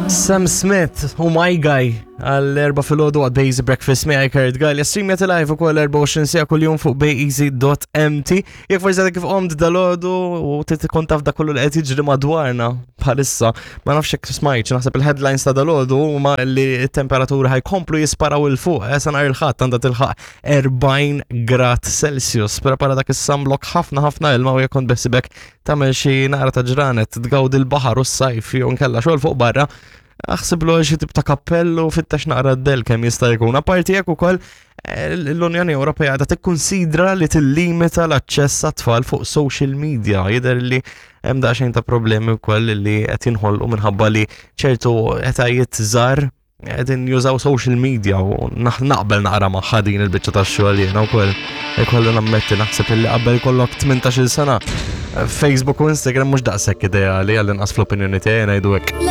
Sam Smith u My Guy għall-erba filgħodu għad Bazy Breakfast miegħi Kurt Gallia. Streamjat live ukoll 24 siegħa kuljum fuq bayeasy.mt. Jekk forsi għadek kif qomt dalodu u trid tkun taf dak kollu li qed jiġri madwarna bħalissa, ma nafx jekk smajtx, naħseb il-headlines ta' dalodu huma li t-temperatura ħajkomplu jisparaw il fuq, eh, sa nhar il-ħadd għandha tilħaq 40 grad Celsius. Prepara dak is-sunblock ħafna ħafna ilma u jekk kont beħsibek tagħmel xi naqra ta' ġranet tgawdi l-baħar u s-sajf jew nkella xogħol fuq barra, aħsiblu xi tip ta' kappellu fittex naqra d-del kemm jista' jkun. Apparti jekk ukoll eh, l-Unjoni Ewropea għadha tikkunsidra li tillimita l-aċċess għat-tfal fuq social media. Jidher li hemm daqsxejn ta' problemi wkoll li qed jinħolqu minħabba li ċertu etajiet żgħar qegħdin jużaw social media u naqbel naqra magħha din il-biċċa tax-xogħol jiena wkoll. Ikollu nammetti naħseb illi qabel kollok 18-il sena Facebook u Instagram mhux daqshekk ideali għall-inqas fl-opinjoni tiegħi ngħidu hekk.